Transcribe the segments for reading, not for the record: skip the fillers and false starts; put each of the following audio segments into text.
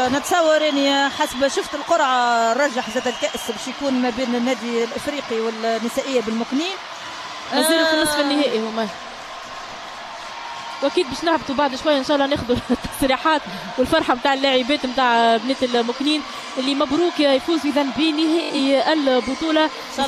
نتصور اني حسب شفت القرعة رجح زاد الكاس باش يكون ما بين النادي الافريقي والنسائيه بالمكنين. مازالوا في النصف النهائي هما، واكيد باش نهبطوا بعد شوية ان شاء الله ناخذوا التصريحات والفرحه نتاع اللاعبات نتاع بنات المكنين اللي مبروك يفوز اذا بنهائي البطولة 22-21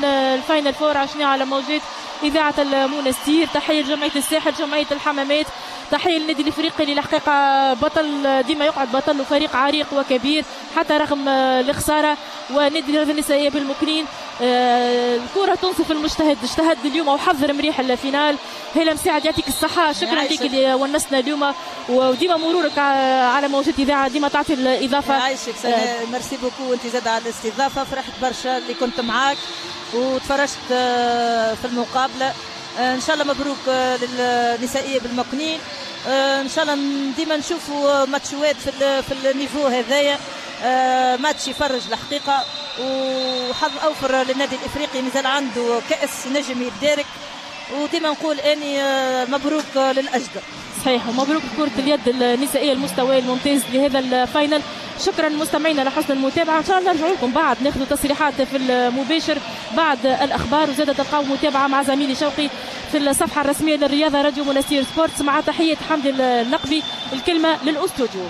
ال final four عشنا على موجات اذاعة المونستير. تحية لجمعية الساحل، جمعية الحمامات، تحية للنادي الافريقي اللي الحقيقة بطل، ديما يقعد بطل وفريق عريق وكبير حتى رغم الخسارة. ونادي الرياضة النسائية بالمكنين الكره تنصف المجتهد، اجتهد اليوم وحضر مريح ال finale. هلا مساعد يعطيك الصحة، شكرا لك اللي ونسنا اليوم، وديما مرورك على موجات اذاعة ديما تعطي الاضافة. يعيشك، merci beaucoup انت زاد على الاستضافة، فرحت برشا اللي كنت معاك وتفرجت في المقابلة. ان شاء الله مبروك للنسائيه بالمكنين، ان شاء الله ديما نشوفوا ماتشوات في ال niveau هذايا، ماتش يفرج الحقيقة، وحظ اوفر للنادي الافريقي مازال عنده كاس نجم يتدارك، وديما نقول اني مبروك للاجدر. صحيح، ومبروك كرة اليد النسائية المستوى الممتاز لهذا ال finale. شكرا مستمعينا لحسن المتابعة، ان شاء الله نرجع لكم بعد ناخذ تصريحات في المباشر بعد الاخبار، وزاد تلقاو متابعة مع زميلي شوقي في الصفحة الرسمية للرياضة راديو منستير سبورتس، مع تحية حمدي النقبي. الكلمة للاستوديو.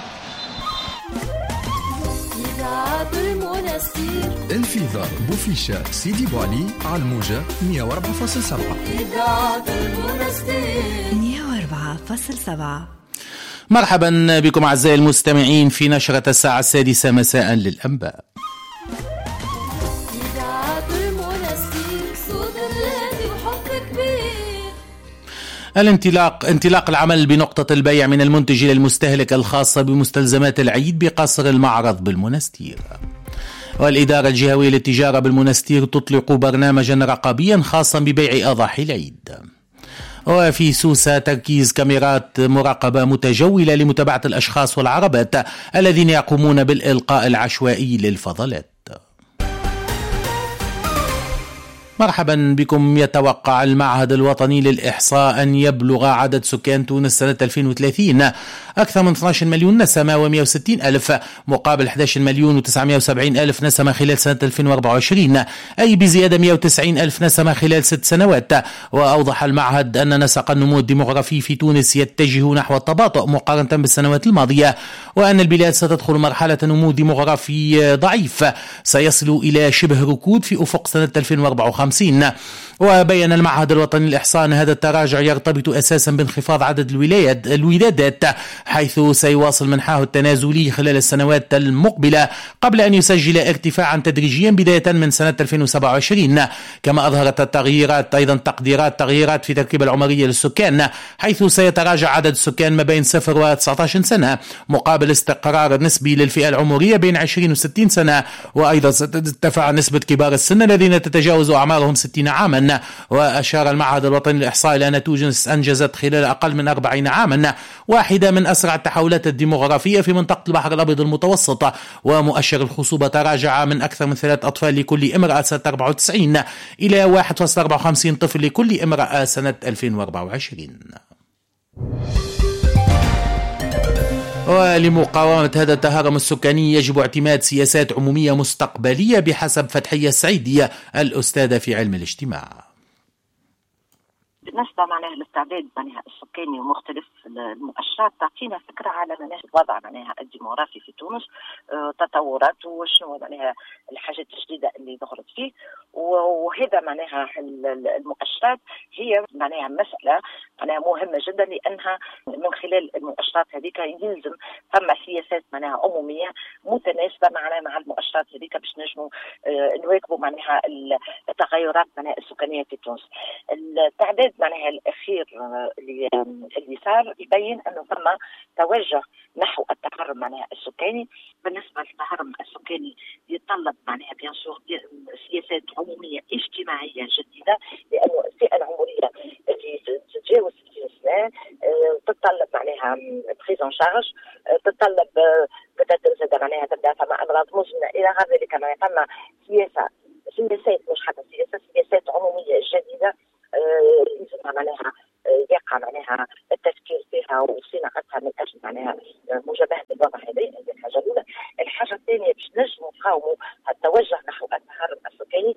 الفيضة بوفيشة سيدي بوعلي على الموجة 104.7. إذاعة المنستير 104.7. مرحبا بكم أعزائي المستمعين في نشرة الساعة 6 مساء للأنباء. إذاعة المنستير، صوت بلادي وحب كبير. انطلاق العمل بنقطة البيع من المنتج إلى المستهلك الخاصة بمستلزمات العيد بقصر المعرض بالمنستير. والإدارة الجهوية للتجارة بالمنستير تطلق برنامجا رقابيا خاصا ببيع أضاحي العيد. وفي سوسة تركيز كاميرات مراقبة متجولة لمتابعة الأشخاص والعربات الذين يقومون بالإلقاء العشوائي للفضلات. مرحبا بكم. يتوقع المعهد الوطني للإحصاء أن يبلغ عدد سكان تونس سنة 2030 أكثر من 12 مليون نسمة و160 ألف مقابل 11 مليون و970 ألف نسمة خلال سنة 2024، أي بزيادة 190 ألف نسمة خلال 6 سنوات. وأوضح المعهد أن نسق النمو الديمغرافي في تونس يتجه نحو التباطؤ مقارنة بالسنوات الماضية، وأن البلاد ستدخل مرحلة نمو ديمغرافي ضعيف سيصل إلى شبه ركود في أفق سنة 2054. وبين المعهد الوطني للإحصاء أن هذا التراجع يرتبط أساسا بانخفاض عدد الولادات، حيث سيواصل منحاه التنازلي خلال السنوات المقبلة قبل أن يسجل ارتفاعا تدريجيا بداية من سنة 2027. كما أظهرت التغييرات أيضا تقديرات تغييرات في تركيبة العمرية للسكان، حيث سيتراجع عدد السكان ما بين 0 و 19 سنة مقابل استقرار نسبي للفئة العمرية بين 20 و 60 سنة. وأيضا سترتفع نسبة كبار السن الذين تتجاوز أعمارهم 60 عاما. وأشار المعهد الوطني للإحصاء إلى أن تونس أنجزت خلال أقل من 40 عاما واحدة من أسرع التحولات الديمغرافية في منطقة البحر الأبيض المتوسط، ومؤشر الخصوبة تراجع من أكثر من 3 أطفال لكل امرأة سنة 94 إلى 1.54 طفل لكل امرأة سنة 2024. ولمقاومة هذا التهرم السكاني يجب اعتماد سياسات عمومية مستقبلية بحسب فتحية السعيدية الأستاذة في علم الاجتماع. بالنسبة معناها للتعداد معناها السكاني ومختلف المؤشرات تعطينا فكرة على معناها الوضع معناها الديموغرافي في تونس، تطوراته وشنو معناها الحاجات الجديدة اللي ظهرت فيه، وهذا معناها المؤشرات هي معناها مسألة معناها مهمة جدا، لأنها من خلال المؤشرات هذيك يلزم فما سياسات معناها عمومية متناسبة معناها مع المؤشرات هذيك باش نجموا نواكبوا معناها التغيرات معناها السكانية في تونس. التعداد معناها الأخير اللي صار يبين أنه ثم توجه نحو التهرم معناها السكاني. بالنسبة للتهرم السكاني يتطلب معناها bien sûr سياسات عمومية اجتماعية جديدة، لأنه الفئة العمرية اللي تتجاوز 60 سنة تتطلب معناها prise en charge، تتطلب بدأت معناها تبدأ فما أمراض مزمنة إلى غير ذلك. معناها فما سياسات مش حتى سياسات عمومية جديدة لازم معناها يقع معناها التفكير فيها وصناعتها من اجل معناها مجابهة الوضع هذا. هذه الحاجة الاولى. الحاجة الثانية باش نجموا نقاوموا التوجه نحو التهرب السكاني.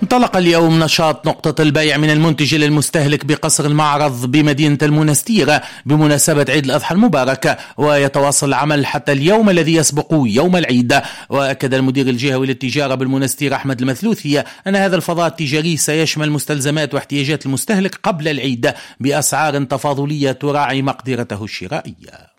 انطلق اليوم نشاط نقطة البيع من المنتج للمستهلك بقصر المعرض بمدينة المنستير بمناسبة عيد الأضحى المبارك، ويتواصل العمل حتى اليوم الذي يسبق يوم العيد. وأكد المدير الجهوي للتجارة بالمنستير أحمد المثلوثي أن هذا الفضاء التجاري سيشمل مستلزمات واحتياجات المستهلك قبل العيد بأسعار تفاضلية تراعي مقدرته الشرائية.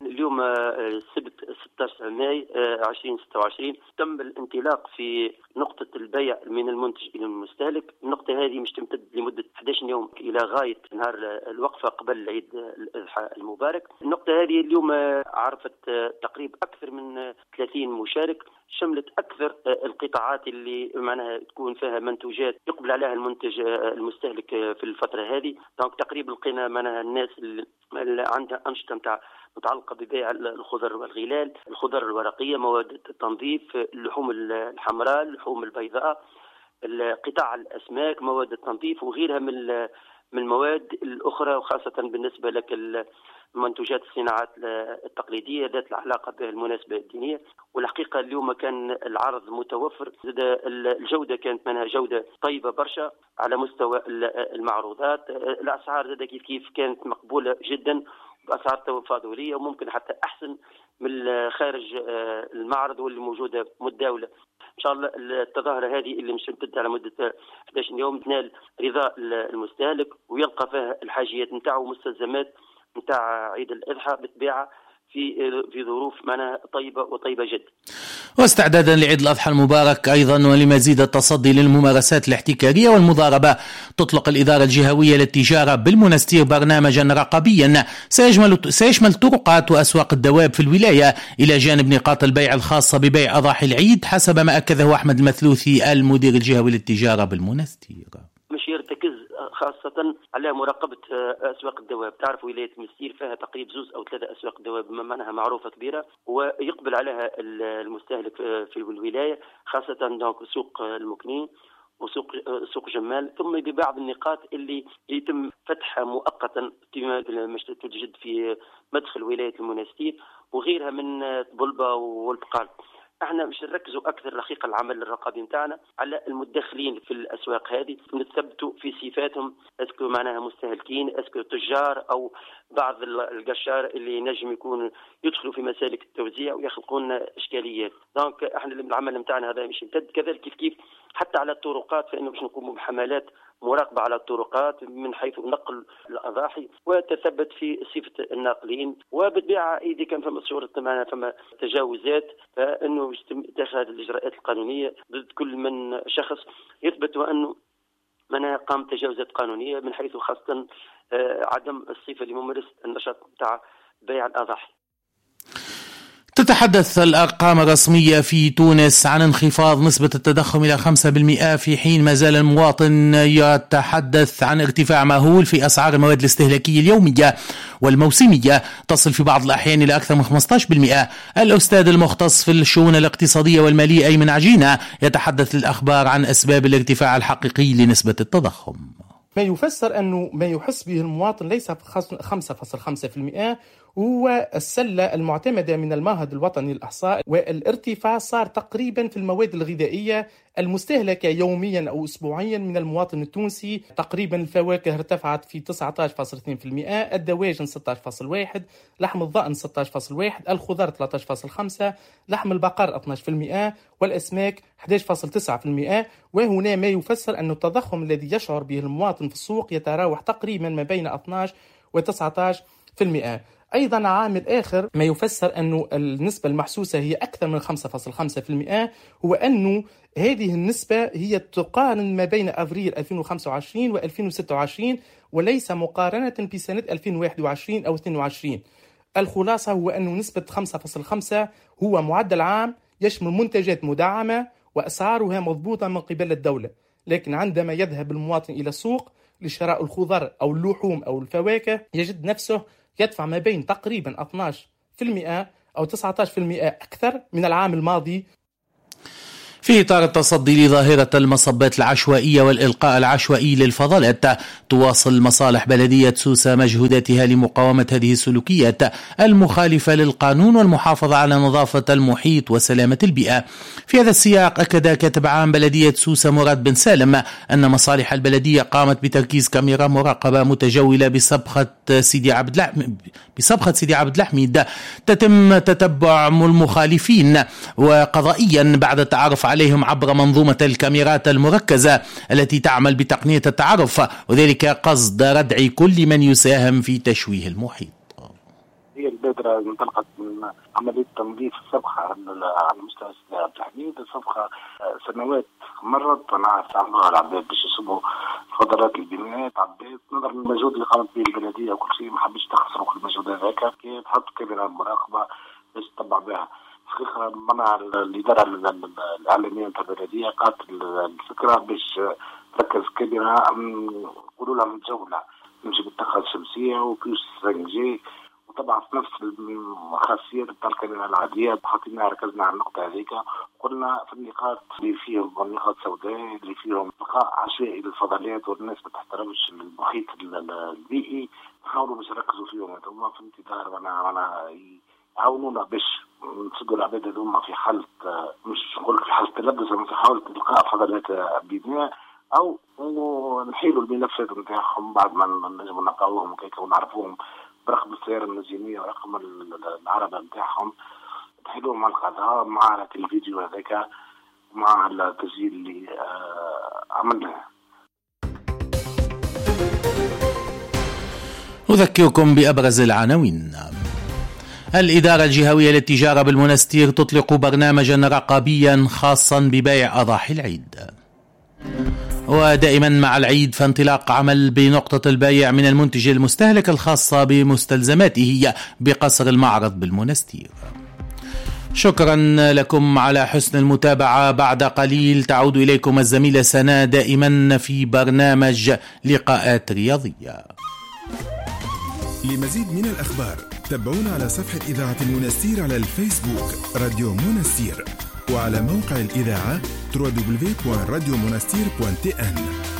اليوم السبت 16 ماي 2026 تم الانطلاق في نقطة البيع من المنتج إلى المستهلك. النقطة هذه مش تمتد لمدة 11 يوم إلى غاية نهار الوقفة قبل عيد الأضحى المبارك. النقطة هذه اليوم عرفت تقريبا أكثر من 30 مشارك، شملت أكثر القطاعات اللي معناها تكون فيها منتوجات يقبل عليها المنتج المستهلك في الفترة هذه. donc تقريبا لقينا معناها الناس اللي عندها أنشطة نتاع متعلقة ببيع الخضر والغلال، الخضر الورقية، مواد التنظيف، اللحوم الحمراء، اللحوم البيضاء، قطاع الأسماك، مواد التنظيف وغيرها من المواد الأخرى، وخاصة بالنسبة لك المنتوجات الصناعات التقليدية ذات العلاقة بالمناسبة الدينية. والحقيقة اليوم كان العرض متوفر، الجودة كانت منها جودة طيبة برشا على مستوى المعروضات. الأسعار زاد كيف كيف كانت مقبولة جدا بأسعار تفاضلية وممكن حتى أحسن من خارج المعرض واللي موجودة متداولة. إن شاء الله التظاهرة هذه اللي مش تمتد على مدة 11 يوم تنال رضا المستهلك ويلقى فيها الحاجيات نتاعو ومستلزمات نتاع عيد الأضحى بالطبيعة في ظروف معناها طيبة وطيبة جدا. واستعدادا لعيد الأضحى المبارك أيضا ولمزيد التصدي للممارسات الاحتكارية والمضاربة، تطلق الإدارة الجهوية للتجارة بالمنستير برنامجا رقابيا سيشمل طرقات وأسواق الدواب في الولاية إلى جانب نقاط البيع الخاصة ببيع أضاحي العيد، حسب ما أكده أحمد المثلوثي المدير الجهوي للتجارة بالمنستير. مش يرتكز خاصة على مراقبة أسواق الدواب. تعرف ولاية المستير فيها تقريبا 2 أو 3 أسواق دواب معناها معروفة كبيرة ويقبل عليها المستهلك في الولاية، خاصة donc سوق المكنين وسوق سوق جمال، ثم ببعض النقاط اللي يتم فتحها مؤقتا كما توجد في مدخل ولاية المنستير وغيرها من بلبة والبقال. احنا مش نركزوا اكثر الحقيقة العمل الرقابي نتاعنا على المدخلين في الاسواق هذه، نثبتوا في صفاتهم، est-ce que معناها مستهلكين، est-ce que تجار او بعض القشار اللي نجم يكون يدخلوا في مسالك التوزيع ويخلقون اشكاليات. donc احنا العمل نتاعنا هذا مش يمتد كذلك كيف كيف حتى على الطرقات، فانه باش نقوموا بحملات مراقبة على الطرقات من حيث نقل الأضاحي وتثبت في صفة الناقلين. وبالطبيعة إذا كان فما صورة معنا فما تجاوزات فإنه يتم اتخاذ الإجراءات القانونية ضد كل من شخص يثبت أنه من قام تجاوزات قانونية من حيث خاصة عدم الصفة لممارسة النشاط تاع بيع الأضاحي. تتحدث الأرقام الرسمية في تونس عن انخفاض نسبة التضخم إلى 5%، في حين ما زال المواطن يتحدث عن ارتفاع مهول في أسعار المواد الاستهلاكية اليومية والموسمية تصل في بعض الأحيان إلى أكثر من 15%. الأستاذ المختص في الشؤون الاقتصادية والمالية أيمن عجينة يتحدث للأخبار عن أسباب الارتفاع الحقيقي لنسبة التضخم. ما يفسر أنه ما يحس به المواطن ليس 5.5% هو السلة المعتمدة من المعهد الوطني للإحصاء، والارتفاع صار تقريبا في المواد الغذائية المستهلكة يوميا أو أسبوعيا من المواطن التونسي. تقريبا الفواكه ارتفعت في 19.2%، الدواجن 16.1%، لحم الضأن 16.1%، الخضر 13.5%، لحم البقر 12%، والأسماك 11.9%. وهنا ما يفسر أن التضخم الذي يشعر به المواطن في السوق يتراوح تقريبا ما بين 12 و 19%. أيضا عامل آخر ما يفسر أن النسبة المحسوسة هي أكثر من 5.5% هو أنه هذه النسبة هي تقارن ما بين أفريل 2025 و 2026 وليس مقارنة بسنة 2021 أو 22. الخلاصة هو أن نسبة 5.5 هو معدل عام يشمل منتجات مدعمة وأسعارها مضبوطة من قبل الدولة، لكن عندما يذهب المواطن إلى السوق لشراء الخضر أو اللحوم أو الفواكه يجد نفسه يدفع ما بين تقريبا 12% أو 19% أكثر من العام الماضي. في إطار التصدي لظاهرة المصبات العشوائية والإلقاء العشوائي للفضلات، تواصل مصالح بلدية سوسة مجهوداتها لمقاومة هذه السلوكيات المخالفة للقانون والمحافظة على نظافة المحيط وسلامة البيئة. في هذا السياق أكد كاتب عام بلدية سوسة مراد بن سالم أن مصالح البلدية قامت بتركيز كاميرا مراقبة متجولة بسبخة سيدي عبد الحميد تتم تتبع المخالفين وقضائيا بعد التعرف عليهم عبر منظومة الكاميرات المركزة التي تعمل بتقنية التعرف، وذلك قصد ردع كل من يساهم في تشويه المحيط. هي البادرة انطلقت من عملية تنظيف السبخة على مستوى سيدي عبد الحميد. السبخة سنوات مرت ونعرف استعملوها العباد باش يصبوا فضلات البنايات عباد، نظرا للمجهود اللي قامت به البلدية وكل شيء ما حبش تخسروا كل المجهود هذاك، كي تحط كاميرا مراقبة باش تتبع بها. الحقيقة منع الإدارة الإعلامية نتاع البلدية قالت الفكرة باش تركز كاميرا نقولوا لها متجولة تمشي بالطاقة الشمسية و puce 5G، وطبعا في نفس الخاصيات نتاع الكاميرا العادية. حطينا ركزنا على النقطة هذيك، قلنا في النقاط اللي فيهم نقاط سوداء اللي فيهم بقاء عشوائي للفضلات والناس ما تحترمش المحيط البيئي، نحاولوا باش نركزوا فيهم هذوما في انتظار معناها يعاونونا باش نسدوا العباد هذوما في حالة، مش نقول لك في حالة تلبس، في حالة إلقاء فضلات بناء أو نحيلوا الملفات نتاعهم بعد ما نجموا نلقاوهم وكيك ونعرفوهم برقم السيارة المزينية ورقم العربة نتاعهم، نحيلوهم على القضاء مع الفيديو هذاك مع التسجيل اللي عملناه. أذكركم بأبرز العناوين. الإدارة الجهوية للتجارة بالمنستير تطلق برنامجا رقابيا خاصا ببيع أضاحي العيد. ودائما مع العيد فانطلاق عمل بنقطة البيع من المنتج المستهلك الخاصة بمستلزماته بقصر المعرض بالمنستير. شكرا لكم على حسن المتابعة. بعد قليل تعود إليكم الزميلة سناء دائما في برنامج لقاءات رياضية. لمزيد من الأخبار تابعونا على صفحة إذاعة المنستير على الفيسبوك راديو منستير، وعلى موقع الإذاعة www.radiomonastir.tn.